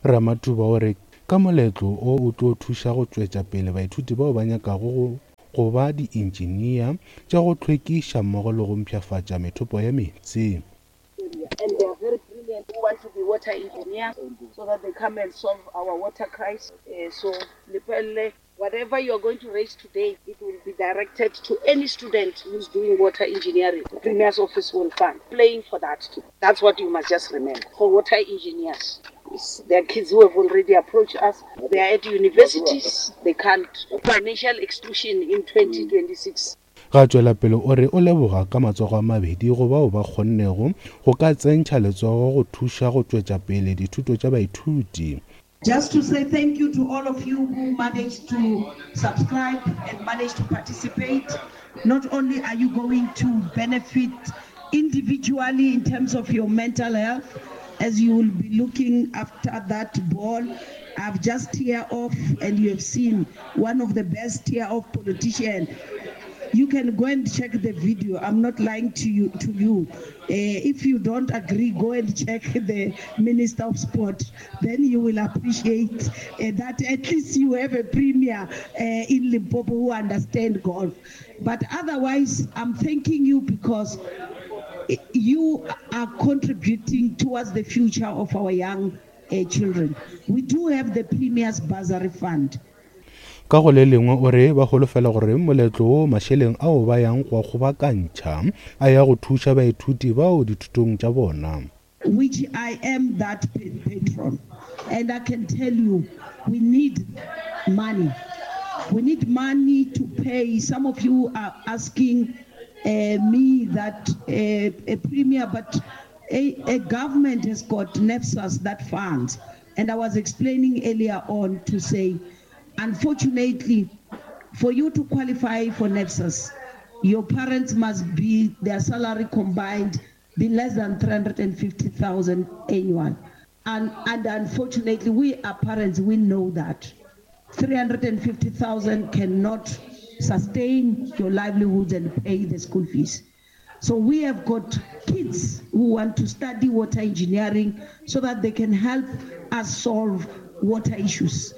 Ramathuba o re ka moletlo o o tlo thuša go tšwetša pele baithuti bao ba nyakago go go ba diintšinia tša go hlwekiša mmogo le go mpshafatša methopo ya meetse. And they are very brilliant who want to be water engineers so that they come and solve our water crisis. Uh, so Lepelle, whatever you are going to raise today, it will be directed to any student who's doing water engineering. The Premier's office will fund. Playing for that too. That's what you must just remember. For water engineers, there are kids who have already approached us. They are at universities. They can't. Financial exclusion in 2026. Ga tšwela pele o re o leboga ka matsogo a mabedi go bao ba kgonnego go ka tsentšha letsogo go thuša go tšwetša pele dithuto tša baithuti. Just to say thank you to all of you who managed to subscribe and managed to participate. Not only are you going to benefit individually in terms of your mental health, as you will be looking after that ball. I've just tear off and you have seen one of the best tear off politician. You can go and check the video. I'm not lying to you. To you, uh, if you don't agree, go and check the Minister of Sport. Then you will appreciate uh, that at least you have a premier uh, in Limpopo who understand golf. But otherwise, I'm thanking you because you are contributing towards the future of our young uh, children. We do have the Premier's Bursary Fund. Ka go le lengwe o re ba holofela gore moletlo wo mašeleng ao ba yang go a kgobakantšha a ya go thuša baithuti bao dithutong tša bona. Which I am that patron and I can tell you we need money. We need money to pay. Some of you are asking uh, me that uh, a premier, but a, a government has got NEPSAS that funds. And I was explaining earlier on to say, unfortunately, for you to qualify for NEPSAS, your parents must be their salary combined be less than 350,000 annual. And, and unfortunately, we are parents, we know that. 350,000 cannot sustain your livelihoods and pay the school fees. So we have got kids who want to study water engineering so that they can help us solve water issues.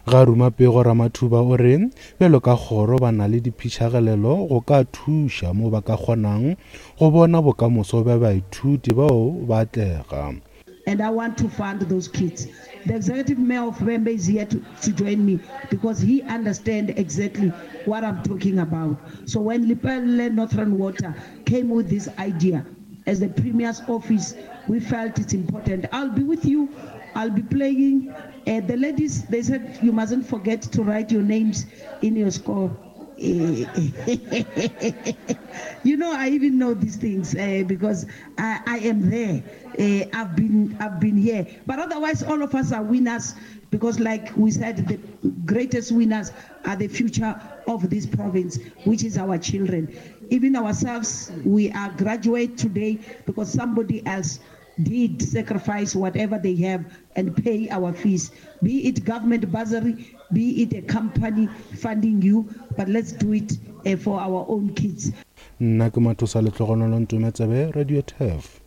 Ga ruma pego Ramathuba o re bjalo ka kgoro ba na le diphišagelelo go ka thuša mo ba ka kgonang go bona bokamoso bja baithuti bao ba atlega. And I want to fund those kids. The executive mayor of Vhembe is here to, to join me because he understands exactly what I'm talking about. So when Lepelle Northern Water came with this idea, as the Premier's office, we felt it's important. I'll be with you. I'll be playing. Uh, the ladies, they said you mustn't forget to write your names in your score. you know, I even know these things uh, because I, I am there. Uh, I've been I've been here. But otherwise, all of us are winners because, like we said, the greatest winners are the future of this province, which is our children. Even ourselves, we are graduate today because somebody else did sacrifice whatever they have and pay our fees, be it government bursary, be it a company funding you, but let's do it uh, for our own kids. Nna ke Mathosa Lehlogonolo Ntometsebe, Radio Turf.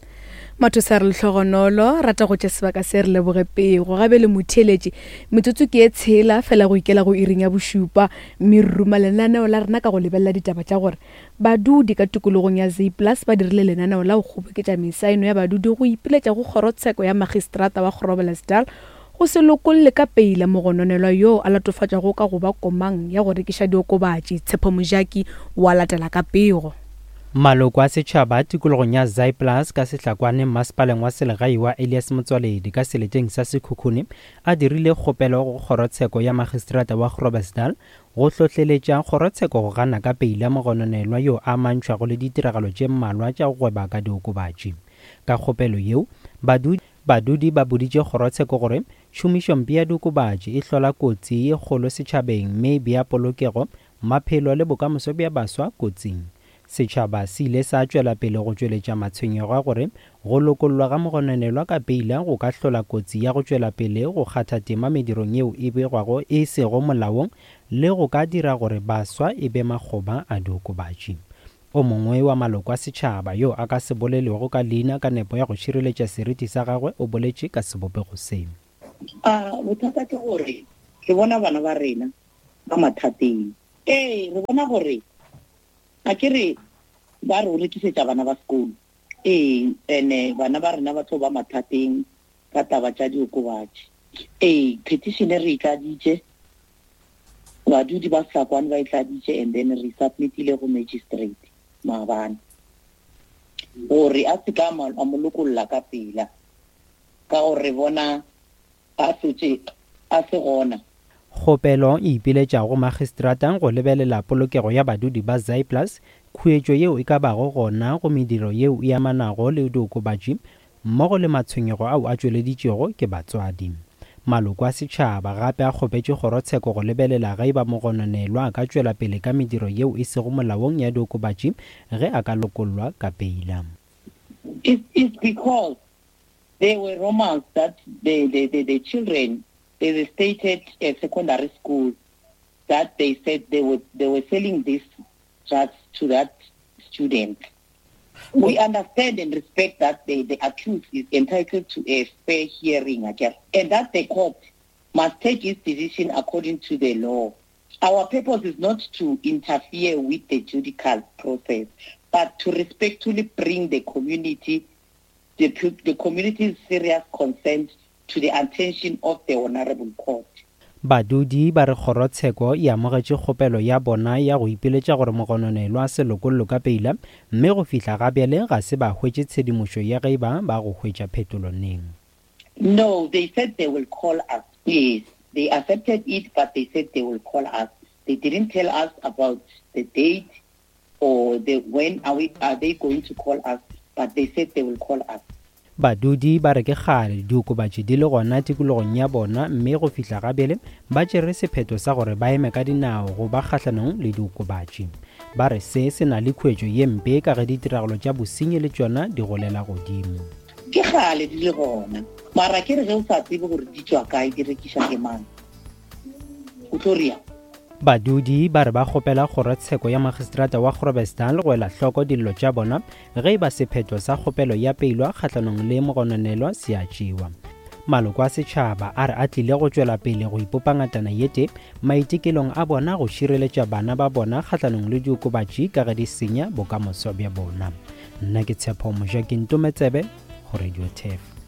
Mathosa re lehlogonolo rata go tše sebaka se re leboge pego gabe le motheeletši metsotso ke e tshela fela go ikela go iring ya bošupa mme re ruma lenaneo la rena ka go lebelela ditaba tša gore Badudi ka tikologong ya Zayplaas ba dirile lenaneo la go kgoboketša mesaeno ya badudi go ipiletša go kgorotsheko ya magistrata wa Groblersdal go se lokolle ka peila mogononelwa yoo a latofatšwago ka go ba komang ya go rekiša diokobatši, Tshepo Mojaki wa latela ka pego. Maloko a setšhaba tikologong ya Zaaiplaas ka Sehlakwane mmasepaleng wa selegae wa Elias Motsoaledi ka seleteng sa Sekhukhune a dirile kgopelo go kgorotsheko ya magistrata wa Groblersdal go hlohleletša kgorotsheko go gana ka peila mogononelwa yo a amantšhwago le ditiragalo tše mmalwa tša go gweba ka diokobatši. Ka kgopelo yeo, badudi Badudi ba boditše kgorotsheko gore tšhomišompe ya diokobatši e hlola kotsi ye kgolo setšhabeng mme e bea polokego, maphelo le bokamoso bja baswa kotsing. Setšhaba se ile sa tšwela pele go tšweletša matshwenyego a gore go lokollwa ga mogononelwa ka peila go ka hlola kotsi ya go tšwela pele go kgatha tema medirong yeo e begwago e sego molaong le go ka dira gore baswa e be makgoba a diokobatši. O mongwe wa maloko a setšhaba yo a ka se bolelwego ka leina ka nepo ya go šireletša seriti sa gagwe o boletše ka sebopego se. A bothata ke gore re bona bana ba rena ba mathateng. Ee, re bona gore a ke re ba re o rekisetša bana ba sekolo. Ee, ene bana ba rena ba tlo ba mathateng ka taba tša diokobatši. Ee, petition re e tladitše, badudi ba Sehlakwane ba e tladitše and then re submitile go magistrate maabane gore a se ka a mo lokolla ka pela ka gore re bona a hlotše a se gona. Kgopelo e ipiletša go magistrata go lebelela polokego ya badudi ba Zaaiplaas, khuetšo yeo e ka bago gona go mediro yeo e amanago le diokobatši mmogo le matshwenyego ao a tšweleditšwego ke batswadi. Maloko a setšhaba gape a kgopetše kgorotsheko go lebelela ge e ba mogononelwa a ka tšwela pele ka mediro yeo e sego molaong ya diokobatši ge a ka lokollwa ka peila. It's, it's because there were rumors that the, the, the, the children, they stated a secondary school that they said they were, they were selling these drugs to that student. We understand and respect that the, the accused is entitled to a fair hearing, again, and that the court must take its decision according to the law. Our purpose is not to interfere with the judicial process, but to respectfully bring the community, the, the community's serious concerns to the attention of the honorable court. Badudi ba re kgorotsheko e amogetše kgopelo ya bona ya go ipiletša gore mogononelwa a se lokollwe ka peila mme go fihla ga bjale ga se ba hwetše tshedimošo ya ge e ba ba go hwetša phetolo neng. No, they said they will call us. Yes, they accepted it but they said they will call us. They didn't tell us about the date or the when are, we, are they going to call us, but they said they will call us. Badudi ba re ke kgale diokobatši di le gona tikologong ya bona mme go fihla ga bjale ba tšere sephetho sa gore ba eme ka dinao go ba kgahlanong le diokobatši. Ba re se se na le khuetšo ye mpe ka ge ditiragalo tša bosenyi le tšona di golela godimo. Ke kgale di le gona mara ke re ge o sa tsebe gore di tšwa kae di rekiša ke mang o tlo reang? Badudi ba re ba kgopela kgorotsheko ya magistrata wa Groblersdal go ela hloko dillo tša bona ge e ba sephetho sa kgopelo ya peilwa kgahlanong le mogononelwa se a tšewa. Maloko a setšhaba a re a tlile go tšwela pele go ipopa ngatana ye tee maitekelong a bona go šireletša bana ba bona kgahlanong le diokobatši ka ge di senya bokamoso bja bona. Nna ke Tshepo Mojaki Ntometsebe go Radio Turf.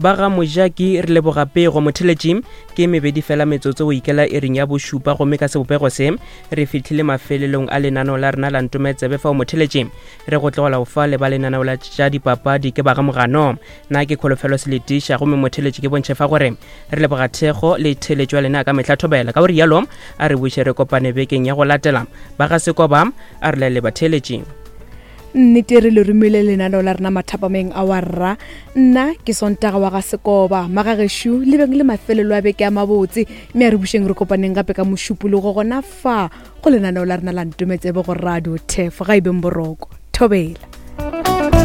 Ba ga Mojaki re leboga pego motheletši ke mebedi fela metsotso go ikela iring ya bošupa gomme ka sebopego se re fihlile mafelelong a lenaneo la rena la ntometsebe fao motheletši re go tlogela go fa le ba lenaneo la tša dipapadi ke ba ga mogano na ke kholofelo seletiša gomme motheletši ke bontšhe fa gore re leboga thekgo le theletšo ya lena ka mehla thobela ka gore yalo a re buše re kopane bekeng ya go latela ba ga sekoba a re laele batheletši Nnete re le romile lenaneo la rena mathapameng a wa rra. Nna ke Sontaga wa ga Sekoba. Magagešo le beng le mafelelo a beke a mabotse mme a re bušeng re kopaneng gape ka mošupologo gona fa go lenaneo la rena la Ntometsebe go Radio Turf. Ga e beng boroko. Thobela.